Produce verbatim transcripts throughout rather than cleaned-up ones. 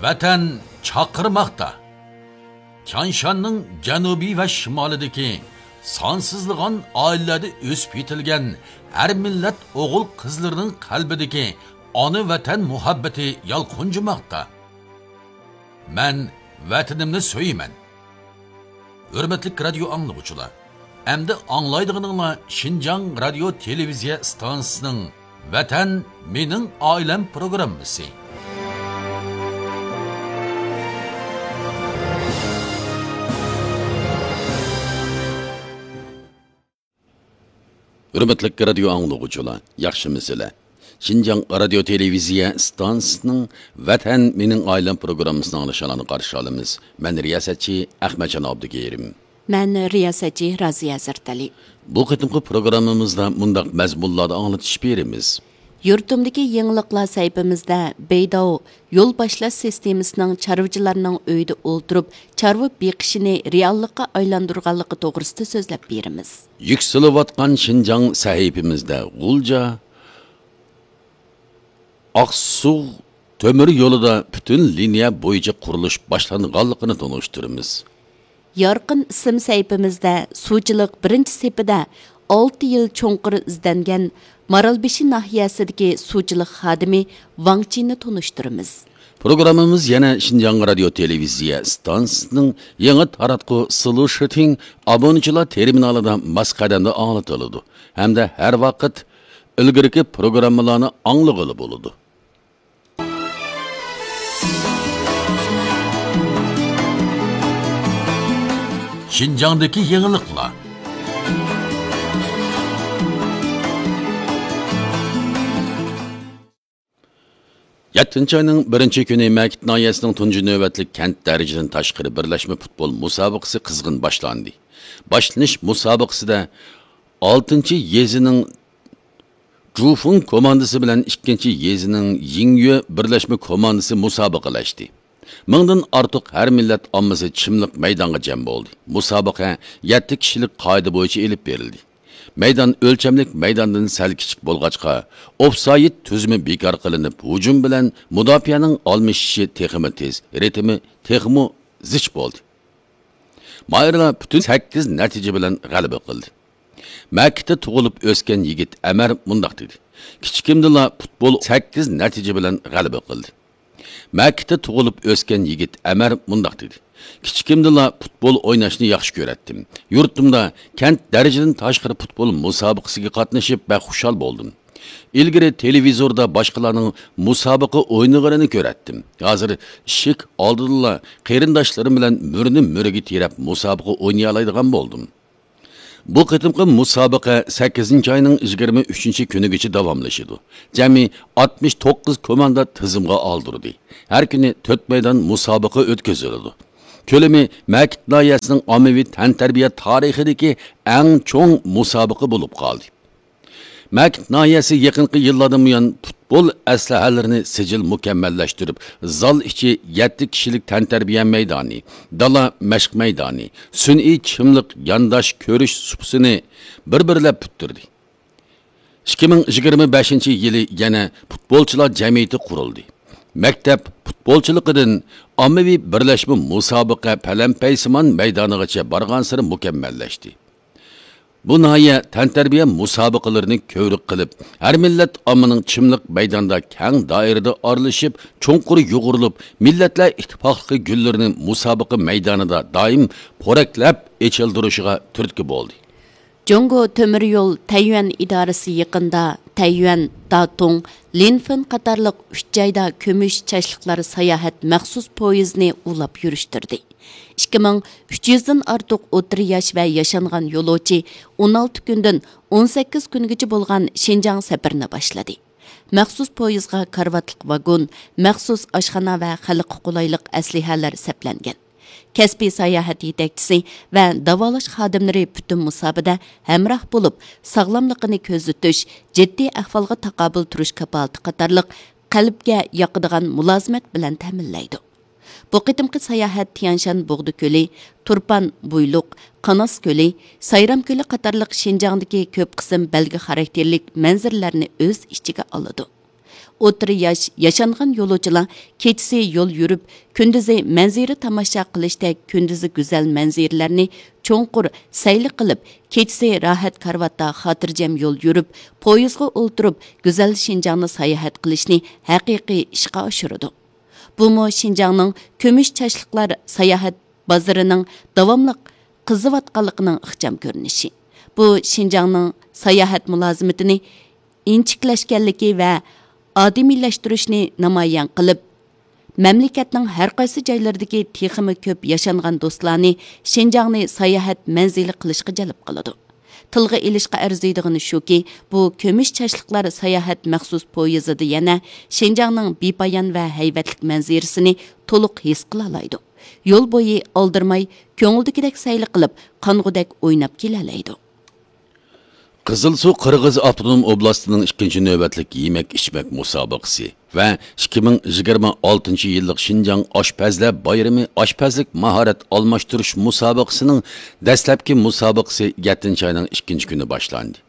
ۋەتەن چاقىرماقتا. تيانشاننىڭ جەنۇبى ۋە شىمالىدىكى سانسىزلىغان ئائىلىلەردە ئۆسۈپ يېتىلگەن ھەر مىللەت ئوغۇل-قىزلىرىنىڭ قەلبىدىكى ئانا ۋەتەن مۇھەببىتى يالقۇنجىماقتا. مەن ۋەتىنىمنى سۆيىمەن. ھۆرمەتلىك رادىيو ئاڭلىغۇچىلار، ئەمدى ئاڭلايدىغىنىڭلار شىنجاڭ رادىيو تېلېۋىزىيە ئىستانسىسىنىڭ ۋەتەن مېنىڭ ئائىلەم پروگراممىسى. ھۆرمەتلىك رادىيو ئاڭلىغۇچىلار، ياخشىمۇسىلەر؟ شىنجاڭ رادىيو تېلېۋىزىيە ئىستانسىسىنىڭ ۋەتەن مېنىڭ ئائىلەم پروگراممىسىنى ئاڭلىشىڭلارنى قارشى ئالىمىز. مەن رىياسەتچى ئەخمەتجان ئابدۇكېرىم. مەن رىياسەتچى رازىيە ھەزرىتەلى. بۇ قېتىمقى پروگراممىمىزدا مۇنداق مەزمۇنلاردا ئاڭلىتىش بېرىمىز. يۇرتۇمدىكى يېڭىلىقلار سەھىپىمىزدە بېيداۋ يول باشلاش سىستېمىسىنىڭ چارۋىچىلارنىڭ ئۆيىدە ئولتۇرۇپ چارۋا بېقىشىنى رېئاللىققا ئايلاندۇرغانلىقى توغرىسىدا سۆزلەپ بېرىمىز. يۈكسىلىۋاتقان شىنجاڭ سەھىپىمىزدە غۇلجا، ئاقسۇ تۆمۈر يولىدا پۈتۈن لىنىيە بويىچە قۇرۇلۇش باشلانغانلىقىنى تونۇشتۇرىمىز. يارقىن ئىسىم سەھىپىمىزدە سۇچىلىق بىرىنچى سېپىدە ئالتە يىل چوڭقۇر ئىزدەنگەن مارالبېشى ناھىيەسىدىكى سۇچىلىق خادىمى ۋاڭ چىننى تونۇشتۇرىمىز. پروگراممىمىز يەنە شىنجاڭ رادىيو تېلېۋىزىيە ئىستانسىسىنىڭ يېڭى تاراتقۇ سلۇشىتىڭ ئابۇنىچىلار تېرمىنالىدا ماس قەدەمدە ئاڭلىتىلىدۇ ھەمدە ھەر ۋاقىت ئىلگىرىكى پروگراممىلارنى ئاڭلىغىلى بولىدۇ. شىنجاڭدىكى يېڭىلىقلار. يەتتىنچى ئاينىڭ بىرىنچى كۈنى مەكىت ناھىيەسىنىڭ تۇنجى نۆۋەتلىك كەنت دەرىجىدىن تاشقىرى بىرلەشمە پۇتبول مۇسابىقىسى قىزغىن باشلاندى. باشلىنىش مۇسابىقىسىدە ئالتىنچى يېزىنىڭ جۇفۇڭ كوماندىسى بىلەن ئىككىنچى يېزىنىڭ يىڭيۆ بىرلەشمە كوماندىسى مۇسابىقىلەشتى. مىڭدىن ئارتۇق ھەر مىللەت ئاممىسى چىملىق مەيدانغا جەم بولدى. مۇسابىقە يەتتە كىشىلىك قائىدە بويىچە ئېلىپ بېرىلدى. مەيدان ئۆلچەملىك مەيداندىن سەل كىچىك بولغاچقا، ئوفسايد تۈزۈمى بىكار قىلىنىپ، ھۇجۇم بىلەن مۇداپىئەنىڭ ئالمىشىشى تېخىمۇ تېز، رىتىمى تېخىمۇ زىچ بولدى. ماھىرلار پۈتۈن سەككىز نەتىجە بىلەن غەلىبە قىلدى. مەكىتتە تۇغۇلۇپ ئۆسكەن يىگىت ئەمەر مۇنداق دېدى: كىچىكىمدىلا پۇتبول سەككىز نەتىجە بىلەن غەلىبە قىلدى. مەكىتتە تۇغۇلۇپ ئۆسكەن يىگىت ئەمەر مۇنداق دېدى: كىچىكىمدىلا پۇتبول ئويناشنى ياخشى كۆرەتتىم. يۇرتۇمدا كەنت دەرىجىدىن تاشقىرى پۇتبول مۇسابىقىسىگە قاتنىشىپ بەك خۇشال بولدۇم. ئىلگىرى تېلېۋىزوردا باشقىلارنىڭ مۇسابىقە ئوينىغىنىنى كۆرەتتىم. ھازىر ئىشىك ئالدىدىلا قېرىنداشلىرىم بىلەن مۈرىنى مۈرىگە تىرەپ مۇسابىقە ئوينىيالايدىغان بولدۇم. بۇ قېتىمقى مۇسابىقە سەككىزىنچى ئاينىڭ يىگىرمە ئۈچىنچى كۈنىگىچە داۋاملىشىدۇ. جەمئىي ئاتمىش توققۇز كوماندا تىزىمغا ئالدۇردى. ھەر كۈنى تۆت مەيدان مۇسابىقە ئۆتكۈزۈلىدۇ. كۆلىمى مەكىت ناھىيەسىنىڭ ئاممىۋى تەنتەربىيە تارىخىدىكى ئەڭ چوڭ مۇسابىقە بولۇپ قالدى. مەكىت ناھىيەسى يېقىنقى يىللاردىن بۇيان پۇتبول ئەسلىھەلىرىنى سىجىل مۇكەممەللەشتۈرۈپ، زال ئىچى يەتتە كىشىلىك تەنتەربىيە مەيدانى، دالا مەشىق مەيدانى، سۈنئىي چىملىق يانداش كۆرۈش سۇپىسىنى بىر-بىرلەپ پۈتتۈردى. ئىككى مىڭ يىگىرمە بەشىنچى يىلى يەنە پۇتبولچىلار جەمئىيىتى قۇرۇلدى. مەكتەپ پۇتبولچىلىقىدىن ئاممىۋى بىرلەشمە مۇسابىقە پەلەمپەيسىمان مەيدانىغىچە بارغانسېرى مۇكەممەللەشتى. بۇ ناھىيە تەنتەربىيە مۇسابىقىلىرىنى كۆۋرۈك قىلىپ، ھەر مىللەت ئاممىنىڭ چىملىق مەيداندا كەڭ دائىرىدە ئارىلىشىپ، چوڭقۇر يۇغۇرۇلۇپ، مىللەتلەر ئىتتىپاقلىقى گۈللىرىنى مۇسابىقە مەيدانىدا دائىم پورەكلەپ ئېچىلدۇرۇشىغا تۈرتكە بولدى. جۇڭگو تۆمۈر يول تەييۈەن ئىدارىسى يېقىندا تەييۈەن، داتۇڭ، لىنفېن قاتارلىق ئۈچ جايدا كۈمۈش چاچلىقلار ساياھەت مەخسۇس پويىزىنى ئۇلاپ يۈرۈشتۈردى. ئىككى مىڭ ئۈچ يۈزدىن ئارتۇق ئوتتۇرا ياش ۋە ياشانغان يولۇچى ئون ئالتە كۈندىن ئون سەككىز كۈنگىچە بولغان شىنجاڭ سەپىرىنى باشلىدى. مەخسۇس پويىزغا كارىۋاتلىق ۋاگون، مەخسۇس ئاشخانا ۋە خەلققە قولايلىق ئەسلىھەلەر سەپلەنگەن. كەسپىي ساياھەت يېتەكچىسى ۋە داۋالاش خادىملىرى پۈتۈن مۇساپىدە ھەمراھ بولۇپ، ساغلاملىقىنى كۆزىتىش، جىددىي ئەھۋالغا تاقابىل تۇرۇش كاپالىتى قاتارلىق قەلبكە ياقىدىغان مۇلازىمەت بىلەن تەمىنلەيدۇ. بۇ قېتىمقى ساياھەت تيەنشان بۇغدا كۆلى، تۇرپان بويلۇق، قاناس كۆلى، سايرام كۆلى قاتارلىق شىنجاڭدىكى كۆپ قىسىم بەلگە خاراكتېرلىك مەنزىرىلەرنى ئۆز ئىچىگە ئالىدۇ. ئوتتۇرا ياش ياشانغان يولۇچىلار كېچىسى يول يۈرۈپ، كۈندۈزى مەنزىرە تاماشا قىلىشتەك كۈندۈزى گۈزەل مەنزىرىلەرنى چوڭقۇر سەيلە قىلىپ، كېچىسى راھەت كارىۋاتتا خاتىرجەم يول يۈرۈپ، پويىزغا ئولتۇرۇپ، گۈزەل شىنجاڭنى ساياھەت قىلىشنى ھەقىقىي ئىشقا ئاشۇرىدۇ. بۇمۇ شىنجاڭنىڭ كۈمۈش چاچلىقلار ساياھەت بازىرىنىڭ داۋاملىق قىزىۋاتقانلىقىنىڭ ئىخچام كۆرۈنۈشى. بۇ شىنجاڭنىڭ ساياھەت مۇلازىمىتىنى ئىنچىكىلەشكەنلىكى ۋە ئادىمىيلەشتۈرۈشنى نامايان قىلىپ، مەملىكەتنىڭ ھەر قايسى جايلىرىدىكى تېخىمۇ كۆپ ياشانغان دوستلارنى شىنجاڭنى ساياھەت مەنزىلى قىلىشقا جەلپ قىلىدۇ. تىلغا ئېلىشقا ئەرزىيدىغىنى شۇكى، بۇ كۈمۈش چاچلىقلار ساياھەت مەخسۇس پويىزىدا يەنە شىنجاڭنىڭ بىپايان ۋە ھەيۋەتلىك مەنزىرىسىنى تولۇق ھېس قىلالايدۇ. يول بويى ئالدىرىماي، كۆڭۈلدىكىدەك سەيلە قىلىپ، قانغۇدەك ئويناپ كېلەلەيدۇ. قىزىلسۇ قىرغىز ئاپتونوم ئوبلاستىنىڭ ئىككىنچى نۆۋەتلىك يېمەك-ئىچمەك مۇسابىقىسى ۋە ئىككى مىڭ يىگىرمە ئالتىنچى يىللىق شىنجاڭ ئاشپەزلەر بايرىمى ئاشپەزلىك ماھارەت ئالماشتۇرۇش مۇسابىقىسىنىڭ دەسلەپكى مۇسابىقىسى يەتتىنچى ئاينىڭ ئىككىنچى كۈنى باشلاندى.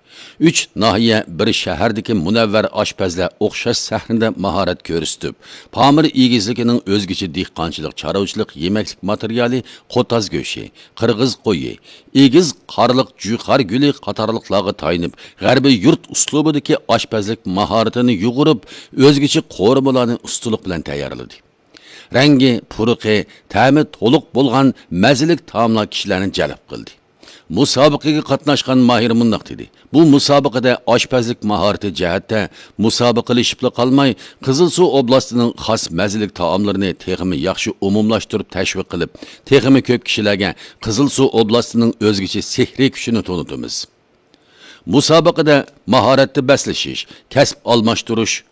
ئۈچ ناھىيە، بىر شەھەردىكى مۇنەۋۋەر ئاشپەزلەر ئوخشاش سەھنىدە ماھارەت كۆرسىتىپ، پامىر ئېگىزلىكىنىڭ ئۆزگىچە دېھقانچىلىق، چارۋىچىلىق، يېمەكلىك ماتېرىيالى، قوتاز گۆشى، قىرغىز قويى، ئېگىز قارلىق جۇيخار گۈلى قاتارلىقلارغا تايىنىپ، غەربىي يۇرت ئۇسلۇبىدىكى ئاشپەزلىك ماھارىتىنى يۇغۇرۇپ، ئۆزگىچە قورۇمىلارنى ئۇستىلىق بىلەن تەييارلىدى. رەڭگى، پۇرىقى، تەمى تولۇق بولغان مەززىلىك تائاملار كىشىلەرنى جەلپ قىلدى. مۇسابىقىگە قاتناشقان ماھىر مۇنداق دېدى: بۇ مۇسابىقىدە ئاشپەزلىك ماھارىتى جەھەتتە مۇسابىقىلىشىپلا قالماي، قىزىلسۇ ئوبلاستىنىڭ خاس مەززىلىك تائاملىرىنى تېخىمۇ ياخشى ئومۇملاشتۇرۇپ تەشۋىق قىلىپ، تېخىمۇ كۆپ كىشىلەرگە قىزىلسۇ ئوبلاستىنىڭ ئۆزگىچە سېھرىي كۈچىنى تونۇتىمىز. مۇسابىقىدە ماھارەتتە بەسلىشىش، كەسىپ ئالماشتۇرۇش،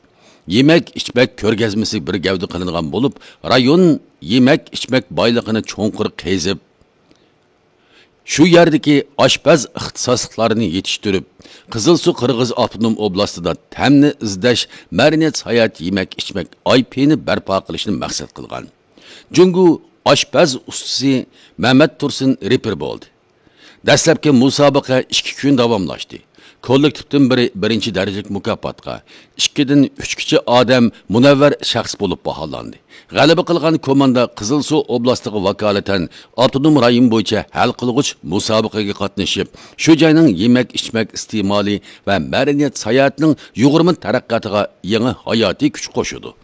يېمەك-ئىچمەك كۆرگەزمىسى بىر گەۋدە قىلىنغان بولۇپ، رايون يېمەك-ئىچمەك بايلىقىنى چوڭقۇر قېزىپ، شۇ يەردىكى ئاشپەز ئىختىساسلىقلارنى يېتىشتۈرۈپ، قىزىلسۇ قىرغىز ئاپتونوم ئوبلاستىدا تەمنى ئىزدەش مەدەنىيەت ساياھەت يېمەك-ئىچمەك ئاي پى نى بەرپا قىلىشنى مەقسەت قىلغان. جۇڭگو ئاشپەز ئۇستىسى مەمەت تۇرسۇن رېپېر بولدى. دەسلەپكى مۇسابىقە ئىككى كۈن داۋاملاشتى. كوللېكتىپتىن بىرى بىرىنچى دەرىجىلىك مۇكاپاتقا، ئىككىدىن ئۈچكىچە ئادەم مۇنەۋۋەر شەخس بولۇپ باھالاندى. غەلىبە قىلغان كوماندا قىزىلسۇ ئوبلاستىغا ۋاكالىتەن ئاپتونوم رايون بويىچە ھەل قىلغۇچ مۇسابىقىگە قاتنىشىپ، شۇ جاينىڭ يېمەك-ئىچمەك ئىستېمالى ۋە مەدەنىيەت ساياھىتىنىڭ يۇغۇرما تەرەققىياتىغا يېڭى ھاياتىي كۈچ قوشىدۇ.